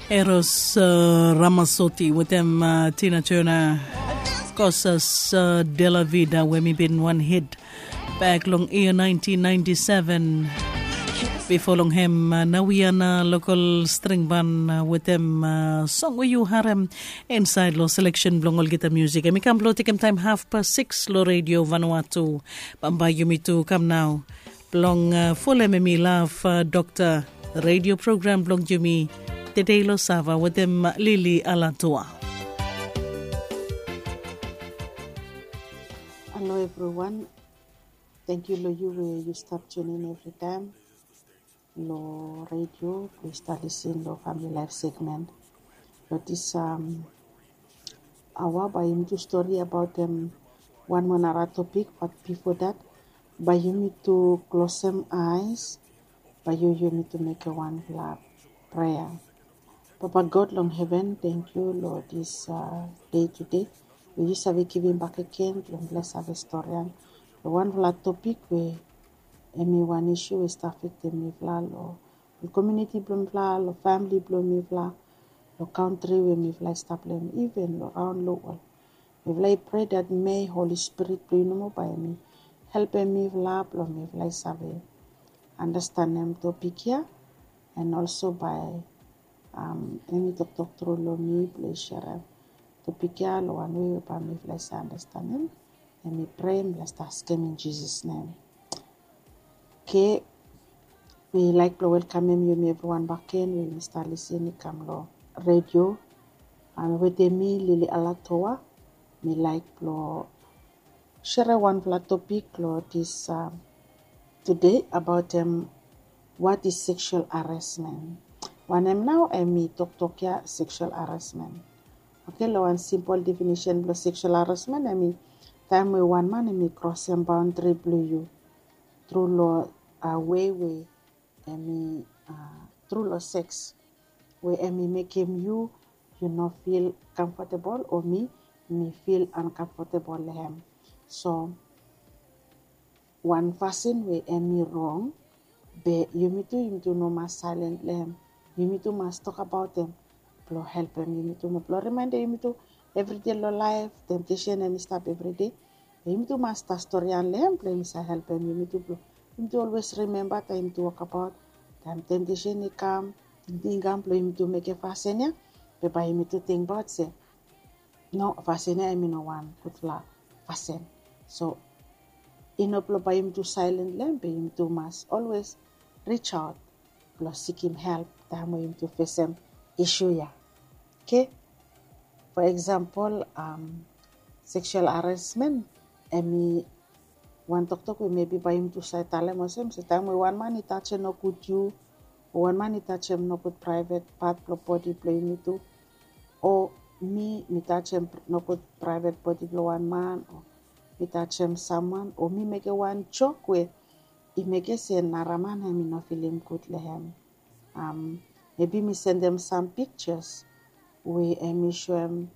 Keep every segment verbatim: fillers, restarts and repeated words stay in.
Eros uh, Ramasoti wetem uh, Tina Turner, Cosas uh, de la Vida, we mi bin wan hit back long year nineteen ninety-seven. Before long hem uh, Nawiana local string band uh, wetem uh, song we you harem inside lo selection blong olgeta music. Emi kam blo tekem time half past six lo Radio Vanuatu. Bambae yumi tu kam nao blong uh, folem emi love uh, doctor radio program blong yumi Tedei lo Sava wetem Lily Alatua. Hello everyone. Thank you lo you we you stop tune in every time. Lo radio we start listen lo family life segment. Lo this um, awa bae yumi tu story about them one more nara topic, but before that, bae yumi tu close them eyes, bae yu yumi tu make one love prayer. Papa God long heaven, thank you lo this uh, day today. We yu save givim back again long bless ave story an lo one fla topic we emi one issue we start affectem mifla lo lo community blong mifla, lo family blong mifla, lo country we mifla i stap lo hem, even lo raon lo world. Mifla i pray that may Holy Spirit blong yu nomo bae emi helpem mifla blong mifla i save understandem topic ya, and also bae um, emi toktok tru lo mi blong i sharem topic ya lo wan wei we bae mifla i save understandem. Emi pray mifla stap askem in Jesus name. Okay, mi laik blong welkamem yumi evriwan bakegen we yumi stap lisen i kam lo radio. Am wetem mi Lily Alatoa. Mi laik blong sere wanfala topik lo this um, today about um, what is sexual harassment. Wanem nao emi toktok ya sexual harassment. Okay, lo wan simple definition blong sexual harassment emi taem we wan man emi krosem boundary blong yu tru lo uh, wei we emi uh, tru lo sex we emi mekem yu yu no fil comfortable o mi mi fil uncomfortable lo hem. So wan fasin we emi rong, be yumi tu yumi tu no mas silent lo hem. Yumi tu mas tok abaot hem blong helpem yumi tu mo blong rimaendem yumi tu evride lo laef. Temptation emi stap evride. Yumi tu mas stap storian lo hem blong yumi save helpem yumi tu blong yumi tu olwes rimemba taem yumi tu wokabaot taem temptation i kam, tingting i kam blong yumi tu mekem fasin ya, be bae yumi tu tingbaot se no, fasin ya emi no wan gudfala fasin. So i no blong bae yumi tu silent lo hem, be yumi tu mas olwes reach out blong sikim help taem we yumi tu fesem isu ya. Okay. For example, um, sexual harassment emi wan toktok we mebi bae yumi tu save talem olsem se taem we wan man i tajem nogud yu o wan man i tajem nogud praevet pat blong bodi blong yumi tu, o mi mi tajem nogud praevet bodi blong wan man, o mi tajem samwan, o mi mekem wan jok we i mekem se nara man emi no filim gud lo hem. Um, mebi mi sendem sam pikjas we emi soem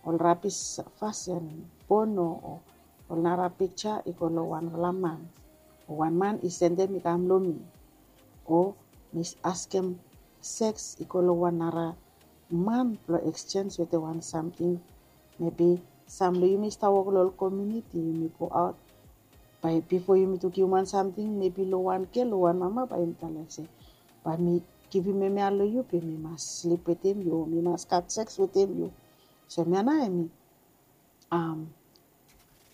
ol rabis fasin, pono o ol nara pikja i go lo wanfala man. Wan man i sendem i kam lo mi, o mi askem seks i go lo wan nara man blong eksjenj wetem wan samting. Mebi sam lo yumi stap wok lo ol komuniti, yumi go aot, bae bifo yumi tu givim wan samting mebi lo wan gel o wan mama, bae yumi talem se bae mi givim hemia lo yu, be mi mas slip wetem yu o mi mas gat seks wetem yu. So hemia nao emi um,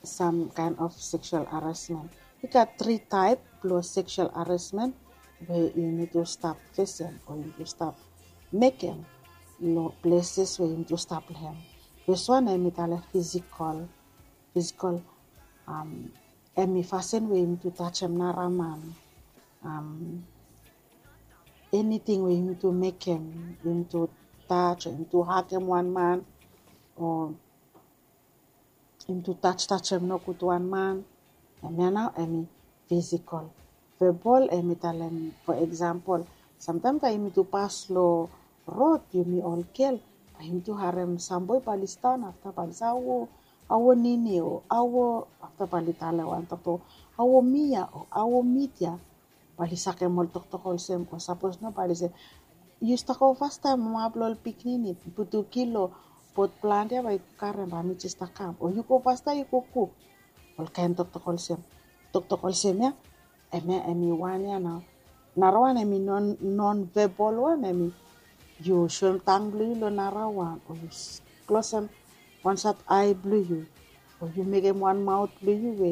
sam kaen of sexual harassment. I gat tri taep blong sexual harassment we yumi tu stap fesem o yumi tu stap mekem lo pleses we yumi tu stap lo hem. Fes wan emi talem fisikol. Fisikol um, emi fasin we yumi tu tajem nara man. Um, eniting we yumi tu mekem, yumi tu taj o yumi tu hagem wan man o yumi tu tajtajem nogud wan man. Hemia nao emi fisikol. Vebol emi talem, fo eksampol, samtaem taem yumi tu pas lo rod, yumi ol gel, bae yumi tu harem sam boe bae oli sidaon afta bae oli se, awo, awo nini o awo, afta bae oli talem wan toktok, awo mi ya o awo mit ya. Bae oli sakem ol toktok olsem, o sapos no bae oli se, yu stap go fastaem mama blong ol pikinini, putu kilo pot plante ya bae yu karem bae mi jes stap kam, o yu go fastaem yu go kuk. Ol kaen toktok olsem, toktok olsem ya. Em ya em i wan ya nao. Narawan em i non non vebol wan em i, yu soem tang blong yu long narawan o yu klosem wan sat ae blong yu, o yu mekem wan maot blong yu we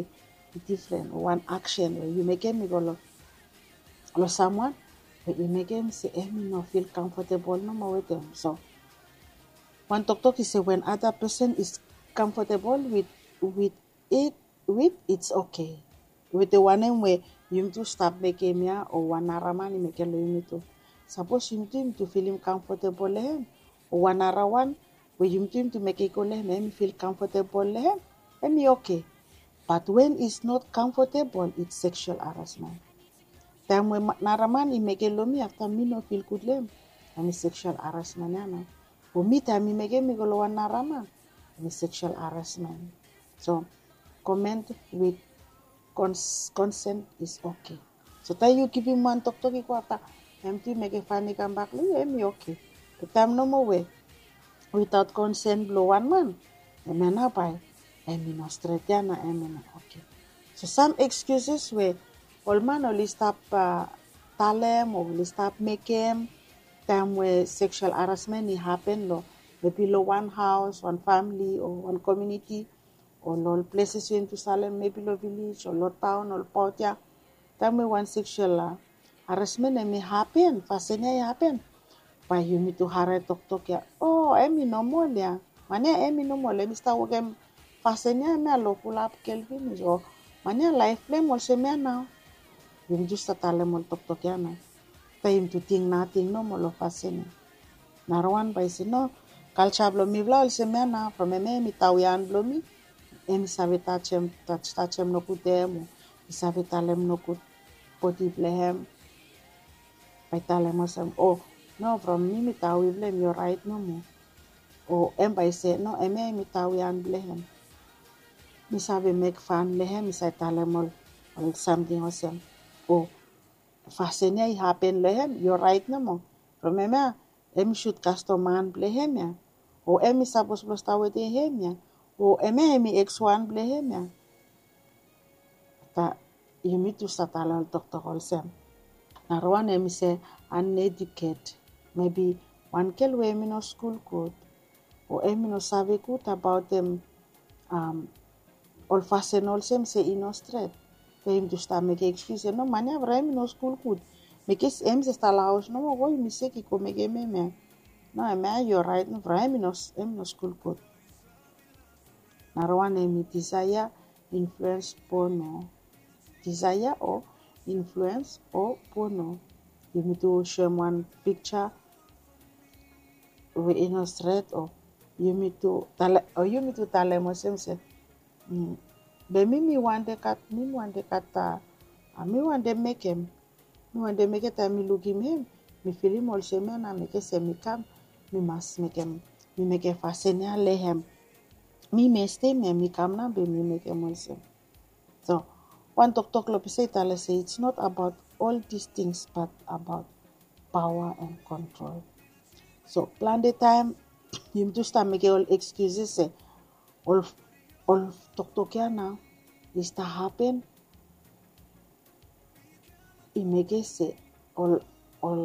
i difren o wan aksen we yu mekem i go long long samwan we i mekem se em i no fil kamfotebol nomo wetem. So wan toktok i se wen ada pesen is kamfotebol wit wit it wit its oke. Wetem wanem we yumi tu stap mekem ya o wan naraman i mekem long yumi tu. Sapos yumi tu yumi tu filim kamfotebol long hem o wan narawan we yumi tu yumi tu mekem i go long hem em i fil kamfotebol long hem, em i oke. Bat wen is not kamfotebol its seksual harasmen. Taem we naraman i mekem long mi afta mi no fil gud long hem, em i seksual harasmen ya nao. O mi taem i mekem i go long wan naraman, em i seksual harasmen. So koment wit konsen is oke. So taem yu givim wan toktok i go afta em tu i mekem fan i kambak long yu em i oke. Be taem nomo we witaot konsen blong wan man, em ya nao bae em i no stret ya na em i no oke. So sam ekskiuses we ol man oli stap talem o oli stap mekem taem we seksual harasmen i hapen long mebi long wan haos wan famili o wan komiuniti o long ol pleses we yumi tu salem mebi long vilej o long taon o long paot ya. Taem we wan seksual harasmen em i hapen fasin ya i hapen, bae yumi tu harae toktok ya o em i nomol ya. Man ya em i nomol em i stap wokem fasin ya em ya long fulap gel finis o man ya laef blong em olsem ya nao. Yumi tu stap talem ol toktok ya nao. Taem yumi tu ting nating nomo long fasin ya. Narawan bae i se no, kalja blong mifala olsem ya nao from em ya em i taoian blong mi. Em i save tajem tajem nogud hem o i save talem nogud bodi blong hem. Bae i talem olsem o no from mi mi taoi blong hem i oraet nomo. O em bae i se no em ya em i taoian blong hem. Mi save mek fan long hem mi save talem ol ol samting olsem o fasin ya i hapen long hem i oraet nomo. From em ya em i sut kastom man blong hem ya o em i sapos blong stap wetem hem ya o em ya em i ekswan blong hem ya. Afta yumi tu stap talem ol toktok olsem, narawan em i se aneduket, mebi wan gel we em i no skul gud o em i no save gud abaotem ol fasin olsem se i no stret. Be yumi tu stap mekem ekskius se no man ya from em i no skul gud. Mekem em se stap long haos nomo go yumi sek i go mekem em ya. No em ya i oraet no from em i no skul gud. Narawan em i disaea influens pono. Disaea o influens o pono. Yumi tu soem wan pikja we i no stret o yumi tu talem o yumi tu talem olsem se be mi mi wande gat mi mi wande gat a mi wande mekem. Mi wande mekem taem mi lukim hem mi filim olsem ya na mekem se mi kam mi mas mekem mi mekem fasin ya long hem. Mi mestem ya mi kam na be mi mekem olsem. So wan toktok long pisa i talem se it's not about all these things but about paoa and kontrol. So plante taem yumi tu stap mekem ol ekskiuses se ol ol toktok ya nao i stap hapen i mekem se ol ol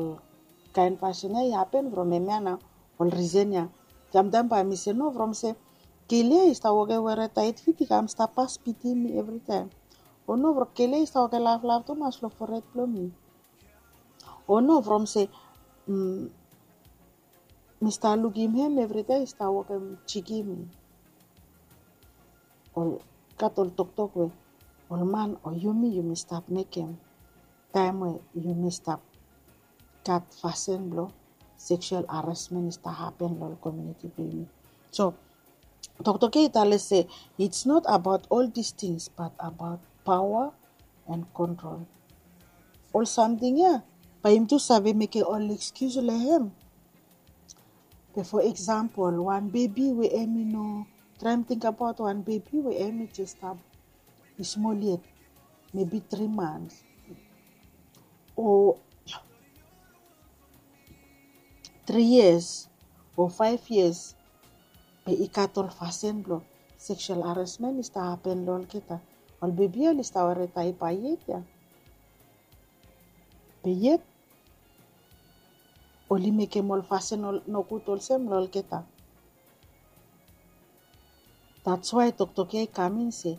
kaen fasin ya i hapen from em ya nao ol risen ya. Samtaem bae mi se no from se gel ya i stap wokem were taet fit i kam stap pas pitim mi evritaem. O no from gel ya i stap wokem laflaf tumas long fored blong mi. O no from se mi stap lukim hem evritaem i stap wokem jikim mi. Ol gat ol toktok we ol man o yumi yumi stap mekem taem we yumi stap gat fasin blong seksual harasmen i stap hapen long ol komiuniti blong yumi. So toktok ya i talem se it's not about all these things but about paoa and kontrol. Ol samting ya bae yumi tu save mekem ol ekskius long hem. Be fo eksampol wan bebi we em i no traem tingbaot wan bebi we em i jes stap i smol yet mebi tri mans o tri yias o faef yias, be i gat ol fasin blong seksual haresmen i stap hapen long olgeta. Ol bebi ya oli stap ware daepa yet ya. Be yet oli mekem ol fasin nogud olsem long olgeta. That's why toktok ya i kam in se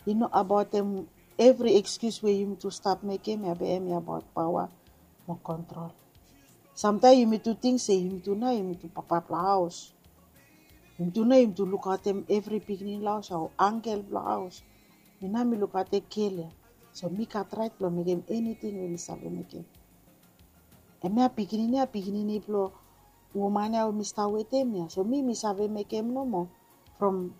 i no abaot em. Evri ekskius we yumi tu stap mekem ya be em i abaot paoa mo kontrol. Samtaem yumi tu ting se yumi tu nao yumi tu papa blong haos. Yumi tu nao yumi tu lukaotem evri pikinini long haos ya o angel blong haos. Mi nao mi lukaotem gel ya, so mi gat raet blong mekem eniting we mi save mekem. Hemia pikinini ya pikinini blong woman ya we mi stap wetem ya, so mi mi save mekem nomo. From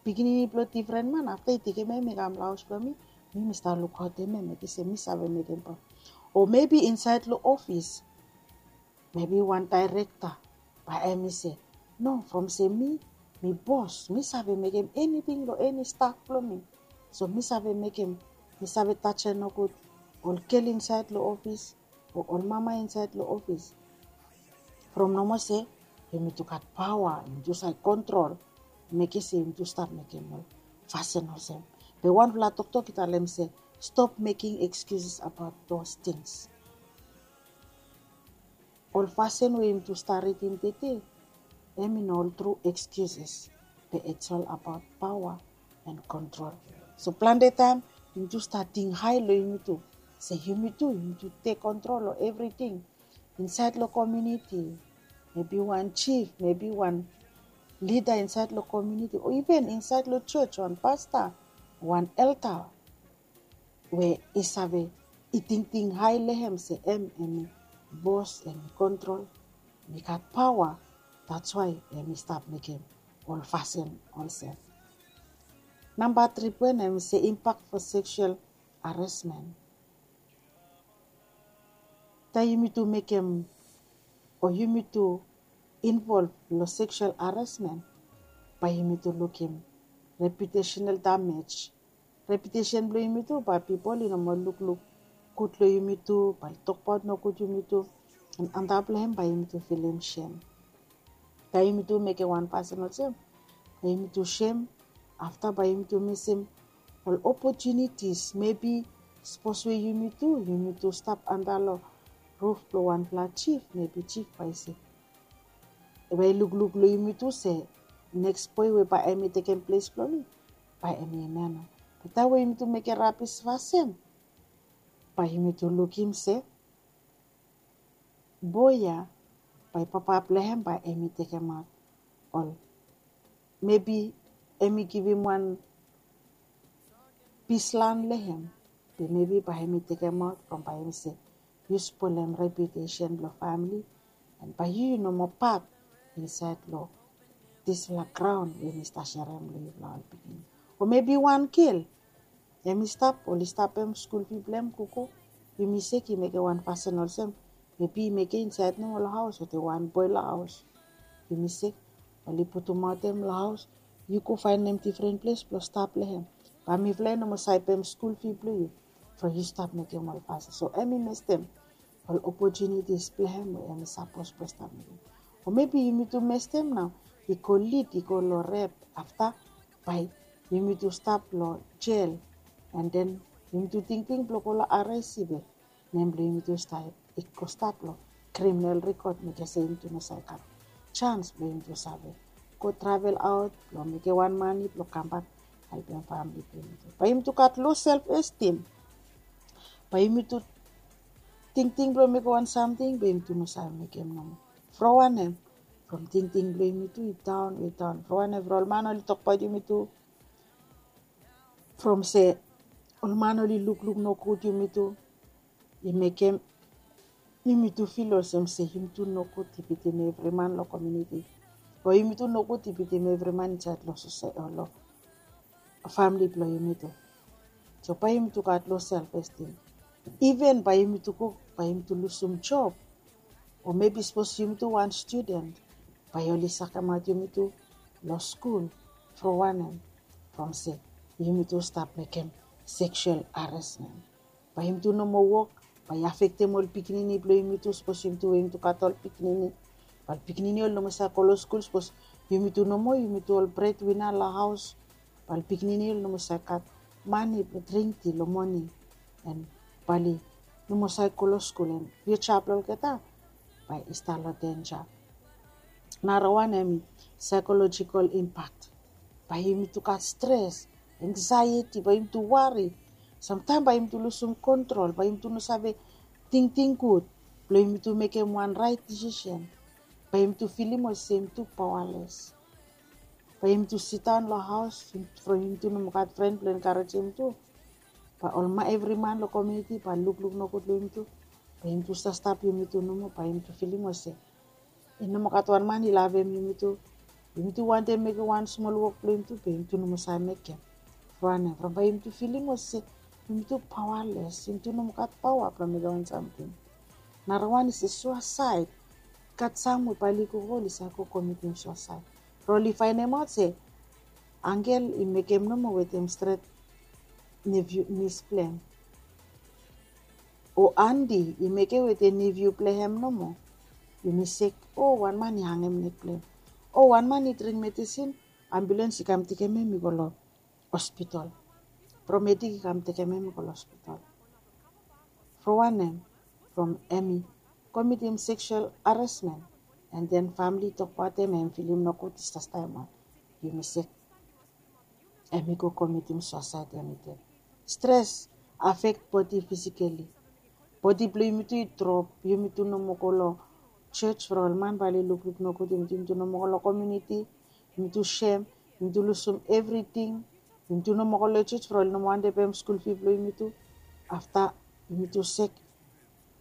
pikinini blong difren man, afta i tekem em i kam long haos blong mi, mi mi stap lukaotem em, mekem se mi save mekem paoa. O mebi insaed long ofis, mebi wan daerekta bae em i se, no, from se mi mi bos, mi save mekem eniting long eni staf blong mi. So mi save mekem, mi save tajem nogud ol gel insaed long ofis o ol mama insaed long ofis. From nomo se yumi tu gat paoa, yumi tu save kontrol, mekem se yumi tu stap mekem ol fasin olsem. Be wanfala toktok i talem se, stop making excuses about those things. Ol fasin we yumi tu stap ridim tede, em i no ol tru excuses, be it's all about paoa and kontrol. So plante taem yumi tu stap ting hae long yumi tu se yumi tu yumi tu tek kontrol long evriting insaed long komuniti. Mebi wan jif, mebi wan lida insaed long komuniti, o iven insaed long jos, wan pasta, wan elda we i save, i tingting hae long hem se em em i bos, em i kontrol, em i gat paoa. That's why em i stap mekem ol fasin olsem. Namba tri poen em i se, impact for sexual harassment. Taem yumi tu mekem o yumi tu involv long sexual harassment, bae yumi tu lukim reputational damage. Reputesen blong yumi tu, bae pipol i no moa lukluk gud long yumi tu, bae oli tokbaot nogud yumi tu. Antap long hem bae yumi tu filim sem. Taem yumi tu mekem wan fasin olsem, bae yumi tu sem. Afta bae yumi tu misim ol opotunitis. Mebi sapos we yumi tu yumi tu stap antap long ruf blong wanfala jif, mebi jif bae i se, bae i lukluk long yumi tu se neks boe we bae em i tekem ples blong mi, bae em i hemia nao. Be taem we yumi tu mekem rabis fasin, bae yumi tu lukim se boe ya bae papa blong hem bae em i tekemaot ol, mebi em i givim wan pis lan long hem. Be mebi bae em i tekemaot from bae em i se yu spolem reputesen blong famili, and bae yu yu no moa pat insaed long disfala graon we mi stap serem long yufala ol pikinini. O mebi wan gel, em i stap, oli stapem skul fi blong hem gogo. Yumi sek i mekem wan fasin olsem, mebi i mekem insaed nomo long haos wetem wan boe long haos. Yumi sek, oli putumaot hem long haos. Yu go faenem difren ples blong stap long hem. Bae mifala i no moa save pem skul fi blong yu from yu stap mekem ol fasin. So em i mestem ol opotunitis blong hem we em i sapos blong stap mekem. O mebi yumi tu mestem nao i go lid i go long rep. Afta bae yumi tu stap long jel, and then yumi tu tingting blong go long R I C be nem blong yumi tu stap i go stap long kriminal rikod, mekem se yumi tu no save gat jans blong yumi tu save go travel aot blong mekem wan mane blong kambak helpem famili blong yumi tu. Bae yumi tu gat lo self estim. Bae yumi tu tingting blong mekem wan samting be yumi tu no save mekem nomo. From wanem? From tingting blong yumi tu i daon, i daon. From wanem? From ol man oli tokbaot yumi tu. From se ol man oli lukluk nogud yumi tu, i mekem yumi tu fil olsem se yumi tu nogud i bitim evri man long komuniti, o yumi tu nogud i bitim evri man insaed long sosae o long famili blong yumi tu. So bae yumi tu gat lo self estim. Iven bae yumi tu go, bae yumi tu lusum job. O mebi sapos yumi tu wan studen, bae oli sakemaot yumi tu long skul. From wanem? From se yumi tu stap mekem seksual haresmen. Bae yumi tu no moa wok, bae i afektem ol pikinini blong yumi tu, sapos yumi tu we yumi tu gat ol pikinini. Bae ol pikinini oli no moa save go long skul sapos yumi tu nomo yumi tu ol bredwina long haos. Bae ol pikinini oli no moa save gat mane blong dring ti long moning. An bae oli no moa save go long skul an fiuja blong olgeta bae i stap long denja. Narawan hemi saikolojikol impak. Bae yumi tu gat stres, engsaeti, bae yumi tu wari. Samtaem bae yumi tu lusum kontrol, bae yumi tu no save tingting gud blong yumi tu mekem wan raet disisen. Bae yumi tu filim olsem yumi tu paoales. Bae yumi tu sidaon long haos from yumi tu no moa gat fren blong enkarejem yumi tu. Bae ol man evri man long komiuniti bae lukluk nogud long yumi tu. Bae yumi tu stap stap yumi tu nomo bae yumi tu filim olsem i no moa gat wan man i lavem yumi tu. Yumi tu wantem mekem wan smol wok blong yumi tu be yumi tu no moa save mekem. From wanem? From bae yumi tu filim olsem yumi tu paoales, yumi tu no moa gat paoa blong mekem wan samting. Narawan i se suasaed. Gat sam we bae oli go oli save go komitim suasaed. From oli faenemaot se angel i mekem nomo wetem stret niviu nis blong hem. O andi i mekem wetem niviu blong hem nomo. Yumi sek, o wan man i hangem nek blong hem. O wan man i dring medisin, ambulens i kam tekem hem i go long hospital. Paramedic i kam tekem hem i go long hospital. From wanem? From hemi komitim seksual haresmen. An den famili i tokbaot hem, hem filim nogud i stap stap hem wan. Yumi sek. Hemi go komitim suasaed hemi ded. Stres afek bodi fisikali. Bodi blong yumi tu i drop, yumi tu no moa go long jos from ol man bae oli lukluk nogud yumi tu, yumi tu no moa go long komiuniti. Yumi tu sem, yumi tu lusum evriting. Yumi tu no moa go long jos from oli no moa wantem pem skul fi blong yumi tu. Afta yumi tu sek,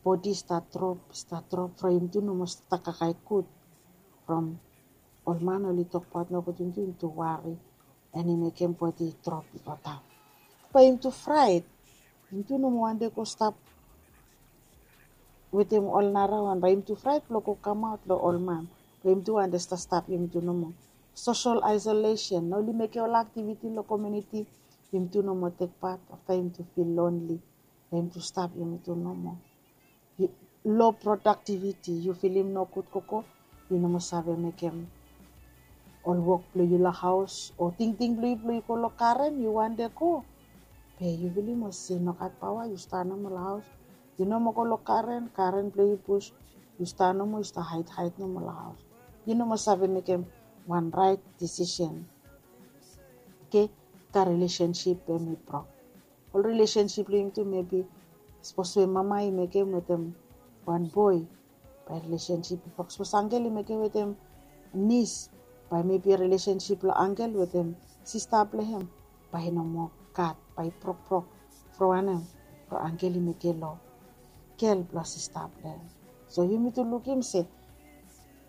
bodi i stap drop, i stap drop from yumi tu no moa stap kakae gud. From ol man oli tokbaot nogud yumi tu, yumi tu wari. An i mekem bodi i drop i go daon. Bae yumi tu fraet. Yumi tu no moa wantem go stap wetem ol narawan, bae yumi tu fraet blong go kamaot long ol man. Bae yumi tu wantem stap stap yumi tu nomo. Sosel aesolesen, no oli mekem ol aktiviti long komiuniti. Yumi tu no moa tekbaot, afta yumi tu fil lonli. Bae yumi tu stap yumi tu nomo. Lo prodaktiviti, yu filim nogud gogo, yu no moa save mekem ol wok blong yu long haos o tingting blong yu blong yu go long garen yu wantem go. Be yu filim olsem yu no gat paoa, yu stap nomo long haos. Yu no moa go long garen, garen blong yu bus, yu stap nomo, yu stap haed haed nomo long haos. Yu no moa save mekem wan raet disisen. Oke, afta rilesensip hemi brok. Ol rilesensip blong yumi tu, mebi sapos we mama i mekem wetem wan boe, bae rilesensip i brok. Sapos angel i mekem wetem nis, bae mebi rilesensip blong angel wetem sista blong hem bae i no moa gat, bae i brokbrok. From wanem? From angel i mekem long gel blong sista blong hem. So yumi tu lukim se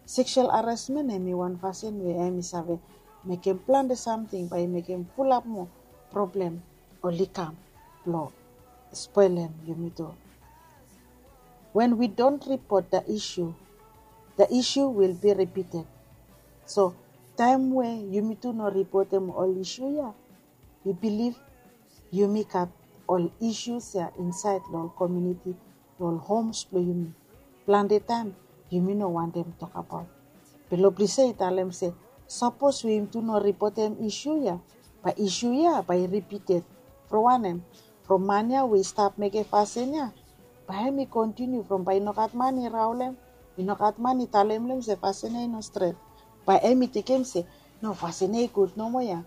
seksual haresmen hemi wan fasin we hemi save mekem plante samting, bae i mekem fulap moa problem oli kam blong spolem yumi tu. When we don't report the issue, the issue will be repeated. So taem we yumi tu no ripotem ol isu ya, mi bilif yumi gat ol isus ya insaed long ol komiuniti, long ol homs blong yumi. Plante taem yumi no wantem tokbaot. Be long ples ya i talem se sapos we yumi tu no ripotem isu ya, bae isu ya bae i ripited. From wanem? From man ya we i stap mekem fasin ya, bae hem i kontiniu from bae i no gat man i raolem, i no gat man i talem long hem se fasin ya i no stret. Bae hem i tekem se no, fasin ya i gud nomo ya.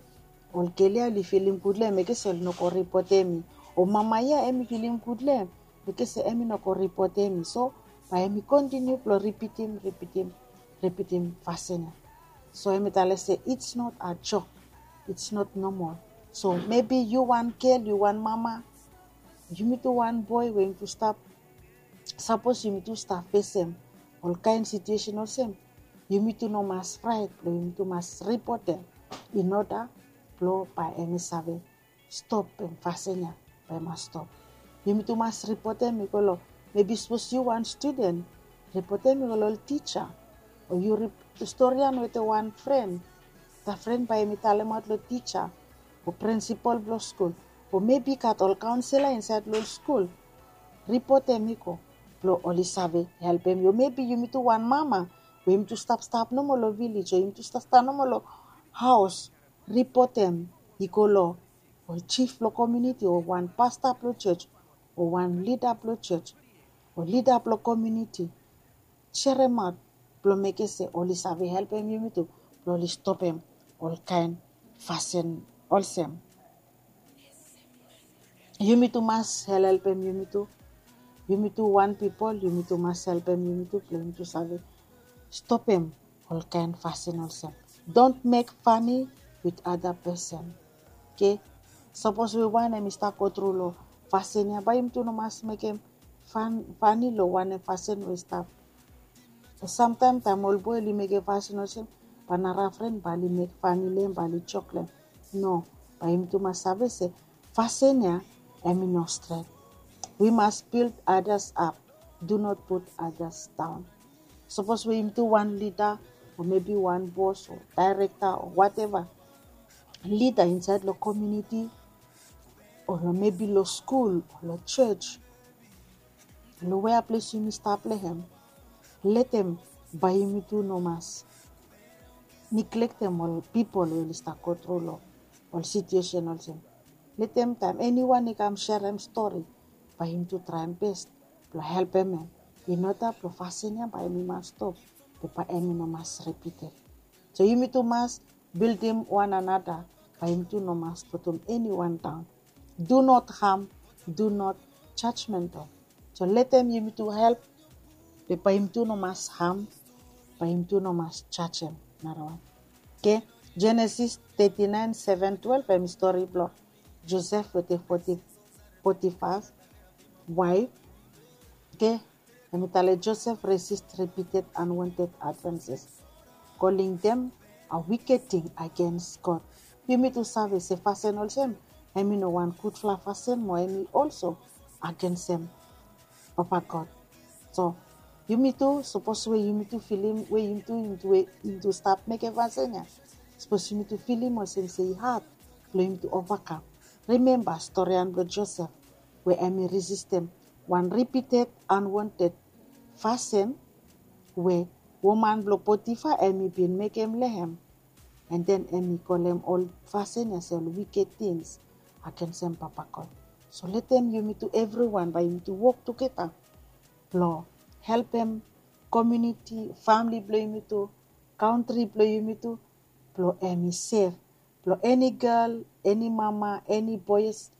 Ol gel ya oli filim gud long hem, mekem se oli no go ripotem mi. O mama ya hem i filim gud long hem, mekem se hem i no go ripotem mi. So bae hem i kontiniu blong ripitim, ripitim, ripitim fasin ya. So hem i talem se it's not a joke, it's not normal. So mebi yu wan gel, yu wan mama, yumi tu wan boe we yumi tu stap, sapos yumi tu stap fesem ol kaen situesen olsem, yumi tu no mas fraet blong yumi tu mas ripotem in oda blong bae hem i save stopem fasin ya, bae i mas stop. Yumi tu mas ripotem i go long, mebi sapos yu wan studen, ripotem i go long ol tija. O yu storian wetem wan fren, da fren bae hem i talemaot long tija o prinsipol blong skul, o mebi i gat ol kaonsela insaed long ol skul. Ripotem i go blong oli save helpem yu. O mebi yumi tu wan mama Yumi tu stap stap nomo long vilej o yumi tu stap stap nomo long haos, ripotem i go long ol jif blong komuniti o wan pasta blong jos o wan lida blong jos o lida blong komuniti. Seremaot blong mekem se oli save helpem yumi tu blong oli stopem olkaen fasin olsem. Yumi tu mas helhelpem yumi tu. Yumi tu wan pipol yumi tu mas helpem yumi tu blong yumi tu save stopem olkaen fasin olsem. Don't make funny with other person. Oke. Sapos we wan em i stap go tru long fasin ya bae yumi tu no mas mekem fani long wanem fasin we i stap. Samtaem taem ol boe oli mekem fasin olsem, bae narafren bae oli mek fani long em bae oli jok long em. No, bae yumi tu mas save se fasin ya em i no stret. We must build others up, do not put others down. Sapos we yumi tu wan lida o mebi wan bos o daerekta o wateva, lida insaed long komuniti o long mebi long skul o long jos, long wea ples yumi stap long hem, letem bae yumi tu no mas niklektem ol pipol we oli stap go tru long ol situesen olsem. Letem taem eniwan i kam serem stori, bae yumi tu traem bes blong helpem hem. In oda blong fasin ya bae yumi mas stop, be bae hem i no mas ripitem. So yumi tu mas bildim wan anada, bae yumi tu no mas putum eniwan daon. Do not harm, do not judgmental. So letem yumi tu help, be bae yumi tu no mas ham, bae yumi tu no mas jajem narawan. Oke. Genesis thirty-nine seven twelve em i stori blong Josef wetem Potifas waef. Oke. Hem i talem Josef resist repeated unwanted advances, calling them a wicked thing against God. Yumi tu save se fasin olsem hem i no wan gudfala fasin mo hem i olso agensem Papa God. So yumi tu sapos we yumi tu filim we yumi tu yumi tu stap mekem fasin ya, sapos yumi tu filim olsem se i had blong yumi tu ovakam. Rimemba storian blong Josef we hem i resistem wan repeated unwanted fasin we woman blong Potifa hem i bin mekem long hem. And then hem i kolem ol fasin ya se ol wicked things agensem Papa God. So letem yumi tu evriwan bae yumi tu wok tugeta blong helpem komuniti, famili blong yumi tu, kantri blong yumi tu, blong hem i sef blong eni gel, eni mama, eni boes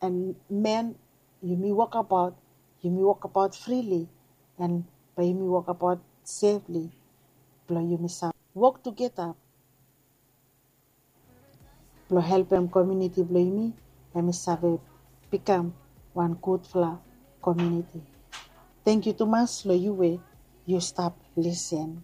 and men, yumi wokabaot, yumi wokabaot frili and bae yumi wokabaot sefli blong yumi save wok tugeta blong helpem komuniti blong yumi hem i save bikam wan gudfala komuniti. Tangkiu tumas long yu we yu stap lisin.